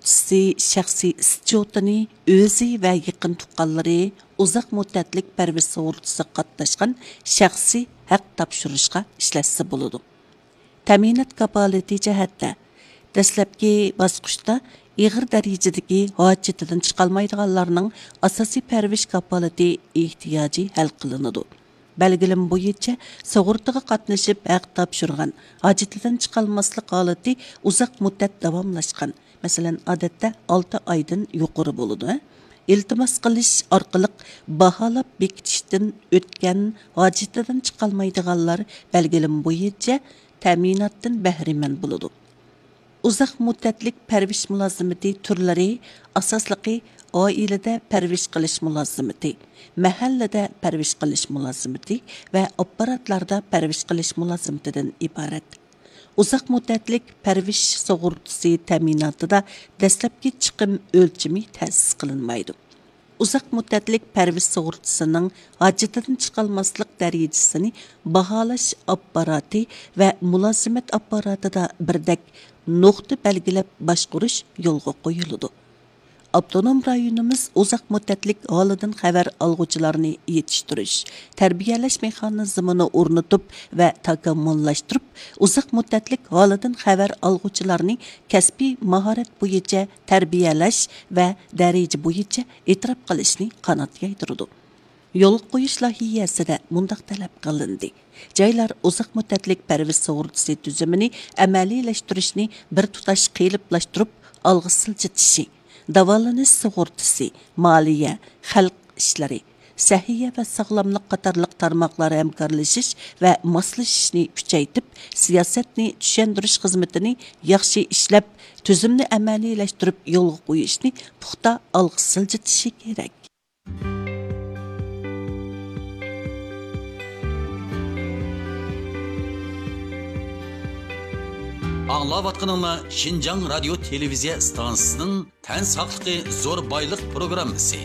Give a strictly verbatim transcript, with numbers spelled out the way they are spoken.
سۇغۇرتىسى شەخسىي ئىسچوتىنى ئۆزى ۋە يېقىن تۇغقانلىرى ئۇزاق مۇددەتلىك پەرۋىش سۇغۇرتىسىغا قاتناشقان شەخسىي ھەق تاپشۇرۇشقا ئىشلەتسە بولىدۇ. تەمىنات كاپالىتى جەھەتتە، دەسلەپكى باسقۇچتا ئېغىر دەرىجىدىكى ھاجىتىدىن چىقالمايدىغانلارنىڭ ئاساسىي پەرۋىش كاپالىتى ئېھتىياجى ھەل قىلىنىدۇ. بەلگىلىمە بويىچە سۇغۇرتىغا قاتنىشىپ ھەق تاپشۇرغان، ھاجىتىدىن چىقالماسلىق ھالىتى ئۇزاق مۇددەت داۋاملاشقان، مەسىلەن، ئادەتتە ئالتە ئايدىن يۇقىرى بولىدۇ. ئىلتىماس قىلىش ئارقىلىق باھالاپ بېكىتىشتىن ئۆتكەن، ھاجىتىدىن چىقالمايدىغانلار بەلگىلىمە بويىچە تەمىناتتىن بەھرىمەن بولىدۇ. ئۇزاق مۇددەتلىك پەرۋىش مۇلازىمىتى تۈرلىرى ئاساسلىقى ئائىلىدە پەرۋىش قىلىش مۇلازىمىتى، مەھەللىدە پەرۋىش قىلىش مۇلازىمىتى ۋە ئاپپاراتلاردا پەرۋىش قىلىش مۇلازىمىتىدىن ئىبارەت. ئۇزاق مۇددەتلىك پەرۋىش سۇغۇرتىسى تەمىناتىدا دەسلەپكى چىقىم ئۆلچىمى تەسىس قىلىنمايدۇ. ئۇزاق مۇددەتلىك پەرۋىش سۇغۇرتىسىنىڭ ھاجىتىدىن چىقالماسلىق دەرىجىسىنى باھالاش ئاپپاراتى ۋە مۇلازىمەت ئاپپاراتىدا بىردەك نۇقتا بەلگىلەپ باشقۇرۇش يولغا قويۇلىدۇ. ئاپتونوم رايونىمىز ئۇزاق مۇددەتلىك ھالىدىن خەۋەر ئالغۇچىلارنى يېتىشتۈرۈش، تەربىيەلەش مېخانىزمىنى ئورنىتىپ ۋە تاكامۇللاشتۇرۇپ، ئۇزاق مۇددەتلىك ھالىدىن خەۋەر ئالغۇچىلارنى كەسپىي ماھارەت بويىچە تەربىيەلەش ۋە دەرىجە بويىچە ئېتىراپ قىلىشنى قانات يايدۇرىدۇ. يولغا قويۇش لايىھەسىدە مۇنداق تەلەپ قىلىندى: جايلار ئۇزاق مۇددەتلىك پەرۋىش سۇغۇرتىسى تۈزۈمىنى ئەمەلىيلەشتۈرۈشنى بىر تۇتاش قېلىپلاشتۇرۇپ ئالغا سىلجىتىشى، داۋالىنىش سۇغۇرتىسى، مالىيە، خەلق ئىشلىرى، سەھىيە ۋە ساغلاملىق قاتارلىق تارماقلار ھەمكارلىشىش ۋە ماسلىشىشنى كۈچەيتىپ، سىياسەتنى چۈشەندۈرۈش خىزمىتىنى ياخشى ئىشلەپ، تۈزۈمنى ئەمەلىيلەشتۈرۈپ يولغا قويۇشنى پۇختا ئالغا سىلجىتىشى كېرەك. ئاڭلاۋاتقىنىڭلار شىنجاڭ رادىيو تېلېۋىزىيە ئىستانسىسىنىڭ تەن ساقلىقى زور بايلىق پروگراممىسى.